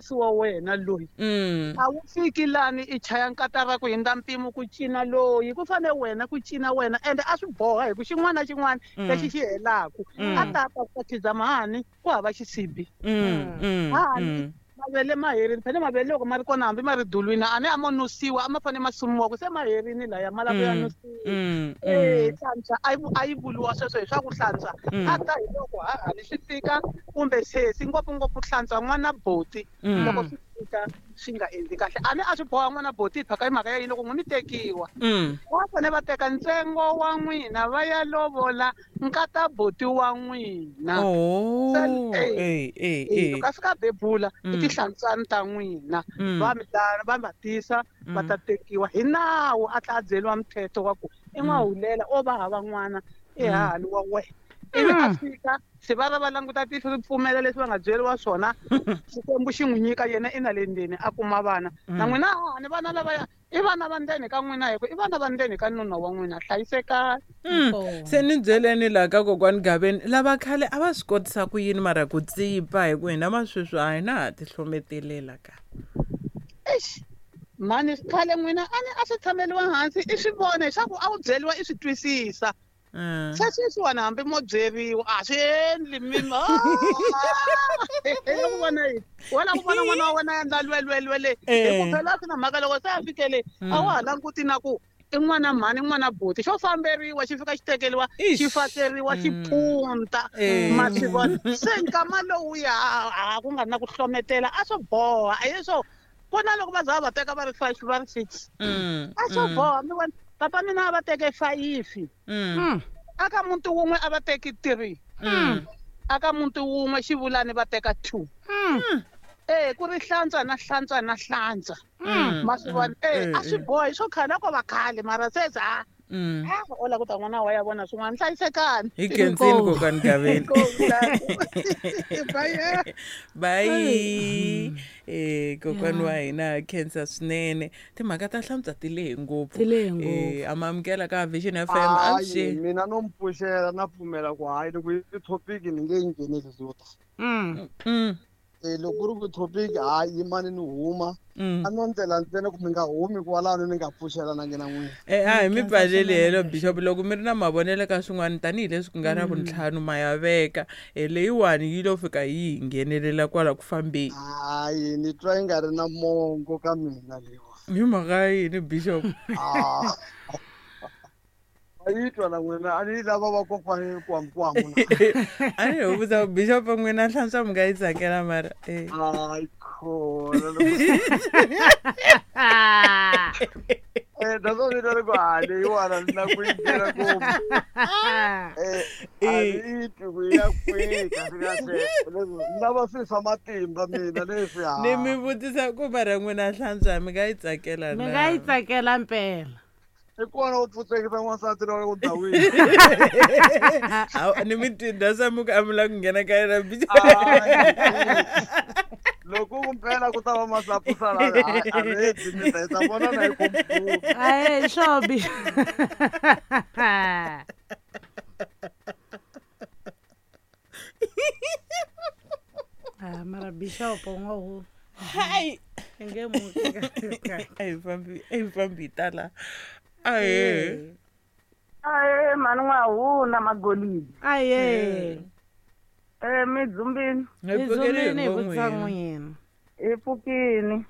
sesi wa wena loyi. A wu fiki lani i chaya nkatara ku hindza mpimo ku cina loyi, ku fane wena ku cina wena, ende a swi boha hi ku xin'wana na xin'wana lexi xi helaku a ta ta ku khizama hani ku hava xisibi. Hani mavele ma herini, phela mavele loko ma ri kona hambi ma ri dulwini a ni a mo nusiwa, a ma fanele ma sumiwa ku se ma herini laya ma lava ku ya nusiwa. Hlantswa a yi vuriwa sweswo hi swa ku hlantswa a ta hi loko hahani swi fika kumbe sesi, ngopfungopfu hlantswa n'wana boti loko swi fika swi nga endli kahle. A ni a swi boha n'wana boti hi phaka hi mhaka ya yini loko n'wi mi tekiwa va fanele va teka ntsengo wa n'wina va ya lovola nkata boti wa n'wina. Loko a fika bebula i tihlantswani ta n'wina va mi va va tisa va ta tekiwa hi nawu, a tla a byeriwa muthetho wa ku i n'wahulela o va hava n'wana i hahani wa wena. Ivi a fika se va va va languta tihlo ri pfumela leswi va nga byeriwa swona, Xikwembu xi n'wi nyika yena i na le ndzeni a kuma vana. Na n'wina hahani vana lavaya i vana va ndzeni ka n'wina, hi ku i vana va ndzeni ka nuna wa n'wina, hlayisekani. Se ni byeleni laha ka kokwani Gaveni, lava khale a va swi kotisa ku yini mara ku tsipa, hi ku hina ma sweswi a hi na ha tihlometelela ka. Eish mhani, khale n'wina a ni a swi tshameliwa hansi i swi vona leswaku a wu byeriwa i swi twisisa. Se sweswiwani hambi mo byeriwa a swi endli mima ku vona yini wena, ku vona n'wana wa wena a endla lwelwelwe le, hi ku phela swi na mhaka loko se a fikele a wa ha languti na ku i n'wana mhani n'wana buti, xo famberiwa xi fika xi tekeriwa xi fakeriwa xi phunta ma swi vona. Se nkama lowuya a ku nga ri na ku hlometela, a swo boha a leswo ku na loko va za va teka va ri 5 va ri 6 a swo boha. Mi vona papa mina a va teke 5 aka muti wun'we a va teki 3 aka muti wun'we xivulani va teka 2. Ku ri hlantswa na hlantswa na hlantswa ma swi vona. A swi boha hi swo khale a ko va khale mara se za o la ku ta n'wana wa ya vona swin'wana, hlayisekani. Hi khensini kokwani Gaveni. Bye. Kokwani wa hina khensa swinene. Timhaka ta hlantswa ti lehe ngopfu. Amamukela ka Vision FM. Avuxeni. Mina no mpfuxela na pfumela ku hayi loko yi topic ni nge yi ngheneli yo ta. Loko ku ri ku topic hayi yimani ni huma a no ndlela ntsena ku mi nga humi kwalano ni nga pfuxela na ngena n'wina. A hi mi pfaleli helo Bishop, loko mi ri na mavonelo ka swin'wana tanihileswi ku nga ra vuntlhanu ma ya veka leyiwani yi lo fika yi hi nghenelela kwala ku fambeni. Hayi ni twa yi nga ri na mongo ka mina leyiwa. Hi mhaka yini Bishop? A yi twa na n'wina a ni lava vakokwani kwamukwamu. A ni ho vutisa Bishop n'wina hlantswa mi nga yi tsakela mara. Hayi khona. That's what we gotta go. Leyiwani ni na ku yi nghena ngopfu. A ni twi ku ya kwihi kahle kahle. Ni lava swilo swa matimba mina leswi. Ni mi vutisa ku mara n'wina hlantswa mi nga yi tsakela na? Mi nga yi tsakela mpela. I kona u pfutsekisa n'wansati loyi u dawini. Ni mi tinda swa mi ku a mi lava ku nghena ka yena Bishop. Loko ku mpela ku ta va masapusa la a ready mi ta ta vona na hi computer. Aye sure Bishop. Mara Bishop u nga hu. Hayi. Nge muti. A hi fambi tala. Ahe. Ahe mhani n'wahuna magolidi. Aye. Mi dzumbini. Hi pfukile hi hi vutisa n'wina. N'wina. Hi pfukini.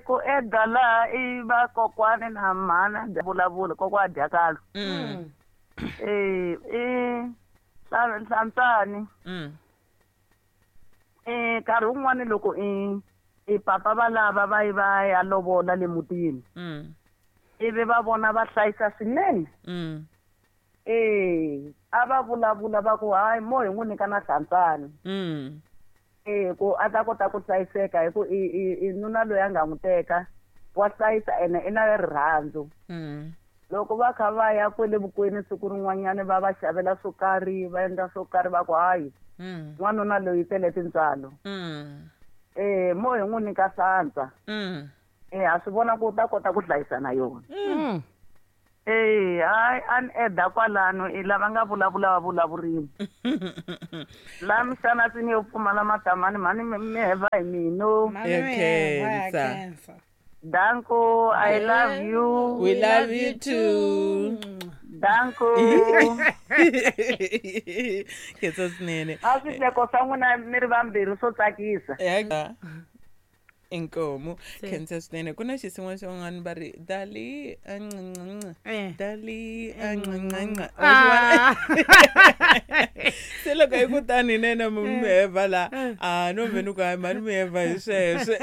Ku eda laha i vakokwani na mhana vulavula kokwa dyakalo. I hlantswani. Nkarhi wun'wani loko i papa va lava va yi va ya lovola le mutini. Ivi va vona va hlayisa swinene. A va vulavula va ku hayi mo hi n'wi nyika na hlantswani. Ku a ta kota ku hlayiseka hi ku i nuna loyi a nga n'wi teka wa hlayisa ene i na rirhandzu. Loko va kha va ya kwele vukweni siku rin'wanyana va va xavela swo karhi va endla swo karhi va ku hayi n'wanuna loyi tele tintswalo. Mo hi n'wi nyika hlantswa. Ha swi vona ku u ta kota ku hlayisa na yona. Hayi a ni eda kwalano i lava nga vulavula va vulavurini. La misana sini yo pfumala matamani mhani mi heva hi mino. Khensa. Danko, I love you. We love you too. Danko. Khensa swinene. A swihleko swa n'wina mi ri vambirhi swo tsakisa. Inkomo. Khensa swinene. Ku na xisin'wana xin'wana va ri dali dali se loko hi ku tani nene miheva la a no vhe ni ku hayi mhani miheva hi sweswo.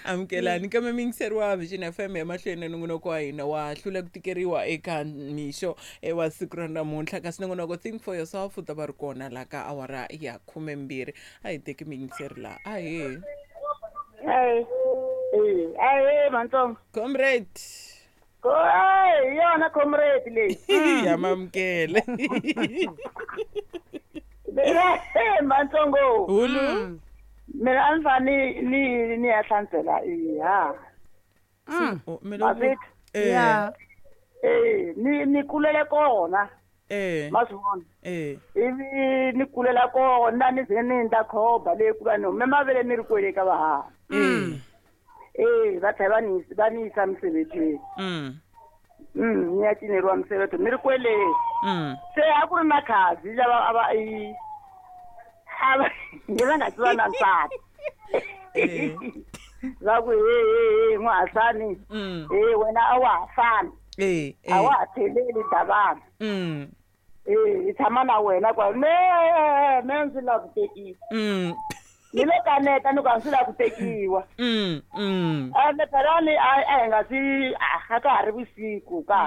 Amukelani kambe miyingiseri wa Vision FM emahlweni nongonoko wa hina wa hlula ku tikeriwa eka mixo wa siku ra namuntlha, kasi nongonoko Think for Yourself u ta va ri kona la ka awara ya 12. A hi teki miyingiseri la. Ahee. Hey, hey, Mantsongo. Comrade. Hey, yona comrade leyi. Ya mamukele. Hey, Mantsongo. Hulu. Mina a ni fane ni ya hlantsela ha. Yeah. Ni kulele kona. Ma swi vona. Ivi ni kulela kona ni ze ni endla khoba leyi ku va ni hume mavele ni ri kwele ka vahaha. Va tlhela va ni yisa misebetweni. Ni ya cineriwa misebeto ni ri kwele. Se a ku ri na khazi lava a va va nga tiva na nsati. Va ku he n'wahasani. Wena a wa ha fani. A wa ha tlheleli davana. Hi tshama na wena kwa me ndzi lava ku tekiwa. Ni le kaneta ni ku a ndzi lava ku tekiwa. Ende phela ni a hi nga si a ka ha ri vusiku ka.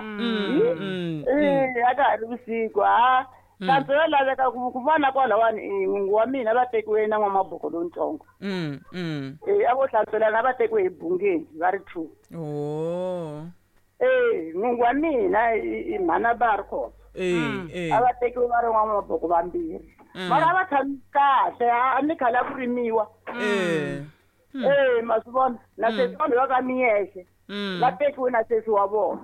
A ka ha ri vusiku ha. Nhlampfi yo laveka ku vona kwalawani n'wingi wa mina va tekiwe na n'wamaboko lontsongo. A vo hlantswelana va tekiwe hi bungeni va ri 2. N'wingi wa mina i mhana va ri kona. A va tekiwe va ri n'wamaboko vambirhi. Mara a va tshami kahle a ni khale a ku rimiwa. Ma swi vona na sesi vanhu va ka miyexe va tekiwe na sesi wa vona.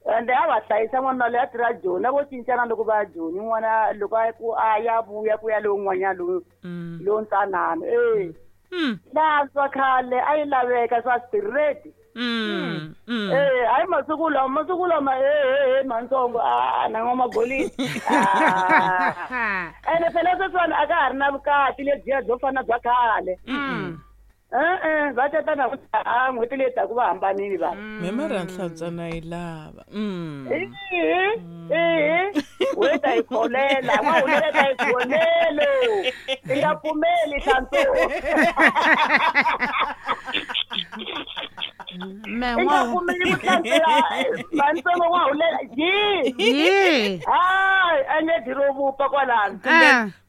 Ende a va hlayisa n'wana loyi a tirha Joni a vo cincana loko va ya Joni n'wana loko a ku a ya vuya ku ya lowun'wanyana lowu lowu ntsanana. Hlantswa khale a yi laveka swa straight. Hayi masiku lama Mantsongo a na n'wamagolini. Ene phela sweswiwani a ka ha ri na vukati lebyiya byo fana bya khale. Va tata na a n'hweti leyi taku va hambanile vanhu. Me mara nhlantswa na yi lava. We ta yi kholela, n'wahulela ta yi kholelo. I nga pfumeli hlantswa. I nga pfumeli ku hlantswela Mantsongo n'wahulela. Yi. Hayi a nge dyi ro vupa kwalano.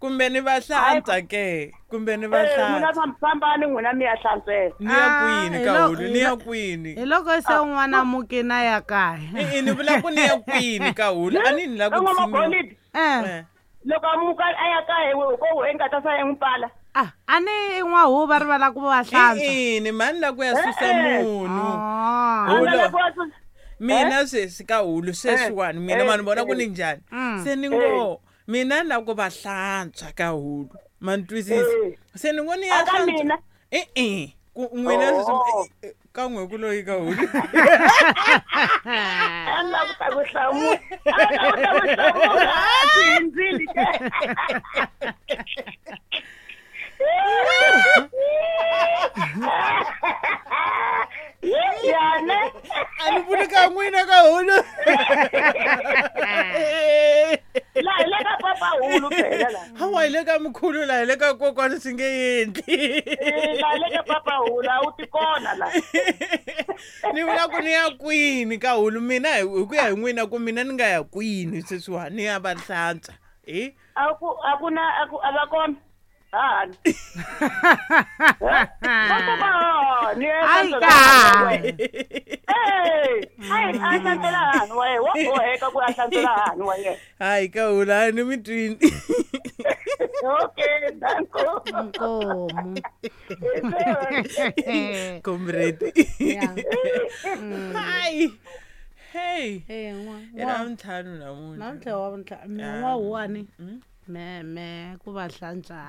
Kumbe ni va hlantswa ke. Kumbe ni va hlantswa. N'wina fambani n'wina mi ya hlantswela. Ni ya kwini ka hulu, ni ya kwini. Hi loko se un'wana mukina ya kaya. Ni vula ku ni ya kwini ka hulu, a ni ni la ku tshinyiwa. Loko a muka a ya kaya ko i nga ta sa n'wi pala. A ni n'wahuva ri va la ku va hlantswa. Ni mani la ku ya susa munhu. Hulu. Mina sweswi ka hulu sweswiwani mina mani vona ku ni njhani. Se ni ngo mina la ku va hlantswa ka hulu. Ma ni twisisa. Se ni ngo ni ya hlantswa. Ku n'wina sweswi ka n'we ku loyi ka hulu. A ni la ku ta ku hlamula. A ni la ku ta ku hlamula. A swi hindzile ke. Yana. A ni vuli ka n'wina ka hulu. La hi le ka papa hulu phela la. Hawa hi le ka mkhulu la hi le ka kokwana swi nge endli. La hi le ka papa hulu a wu ti kona la. Ni vula ku ni ya kwini ka hulu mina hi ku ya hi n'wina ku mina ni nga ya kwini sweswiwani ni ya va hlantswa. A ku a ku na a ku a va kona. Hani. Hani. Ai ka. Eh, ai a hlantswela hani wa yena, wa boheka ku a hlantswela hani wa yena. Hayi ka hula ni mi twini. Okay, danko. Nkomu. Comrade. Yeah. Hayi. Hey. Eh, n'wa. I ra ntlhanu namuntlha. Namuntlha wa vuntlhanu. Me Yeah. n'wa huwani. Me me ku va hlantswa.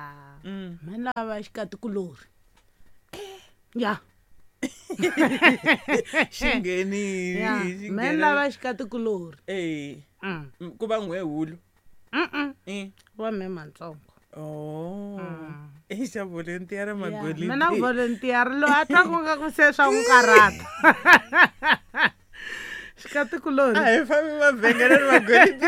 Me lava xikatikulori. Ya. Xi nghenile. Ya. Xi Me nghenile. lava xikatikulori. Eh. Mm. Ku va n'we hulu. Mm. Eh. Wa me mantsongo. Oh. I xa volunteer magolidi. Mina volunteer loyi a twa ku nga ku se swa n'wi karhata. Xikatikulori. A hi fambi mavhengeleni magolidi.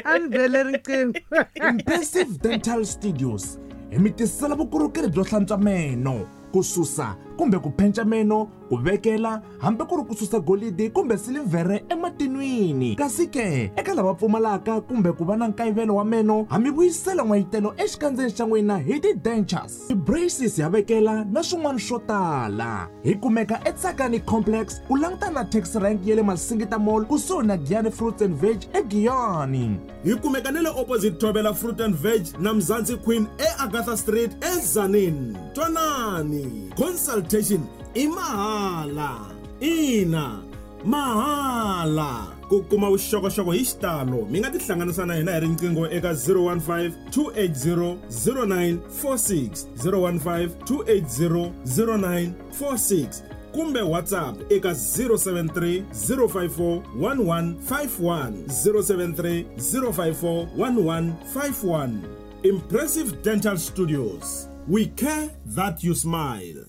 A ni bele riqingho. Impressive Dental Studios hi mi tisela vukorhokeri byo hlantswa meno, ku susa kumbe ku phenca meno, ku vekela hambi ku ri ku susa golidi kumbe silivhere ematin'wini. Kasi ke eka lava pfumalaka kumbe ku va na nkayivelo wa meno, ha mi vuyisela n'wayitelo exikandzeni xa n'wina hi ti-dentures, ti-braces ya vekela na swin'wana swo tala. Hi kumeka eTsakani Complex ku langutana na taxi rank ya le Masingita Mall kusuhi na Giyani Fruits and Veg eGiyani. Hi kumeka na le opposite Thobela Fruit and Veg na Mzansi Queen eAgatha Street eZanin. Twanani, consultation i mahala. Ina, mahala. Ku kuma vuxokoxoko hi xitalo mi nga tihlanganisa na hina hi riqingho eka 015 280 0946, 015 280 0946 kumbe WhatsApp eka 073 054 1151, 073 054 1151. Impressive Dental Studios. We care that you smile.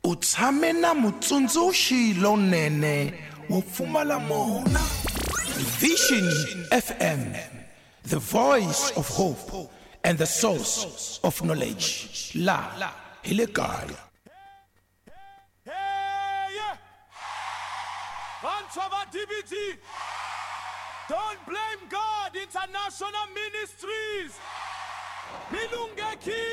U tshame na mutsundzuxi lonene wo pfumala mona. Vision FM, the voice of hope and the source of knowledge. La hi le kaya. Vantshwa va DBT, Don't Blame God International Ministries. Mi lunghekile.